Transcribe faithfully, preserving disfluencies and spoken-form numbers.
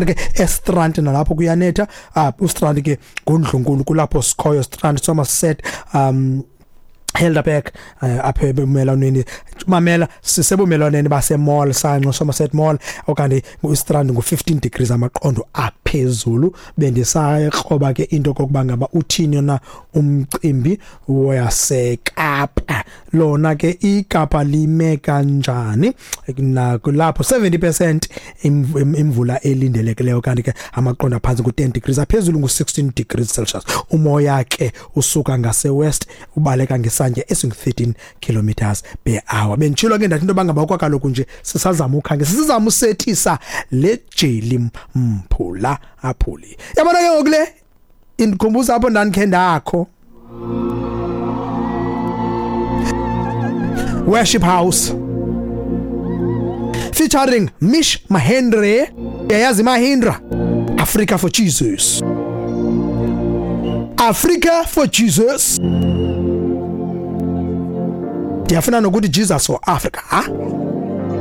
Ke eStrand nalapho kuyanetha. uh, uStrand ke ngundlunkulu, kulapho sikhoyo Strand, Somerset, um Helderberg, uh, apha ebumelwaneni, mamela, sisebumelwaneni basemall sanxo Somerset Mall, okanye uStrand ngu fifteen degrees amaqondo aphezulu. Bendisayikroba ke into kokuba ngaba uthini na umcimbi waseKapa. Lona ke iKapa lime kanjani? Nakulapho seventy percent imvula elindelekileyo, kanti ke amaqondo aphantsi ngu ten degrees, aphezulu ngu sixteen degrees Celsius. Umoya ke usuka ngase west, ubaleka ngesantya esingu thirteen kilometers per hour. Benditshilo ke ndathi into bangaba kaloku nje sisazama ukhange sisazama usethisa le jeli mphula aphuli. Yabona ke ngoku le indikhumbuza apho ndandikhe ndakho Worship House featuring Mish Mahendre, yayazi Mahindra, Africa for Jesus, Africa for Jesus. Ndiyafuna nokuthi Jesus for Africa, ha.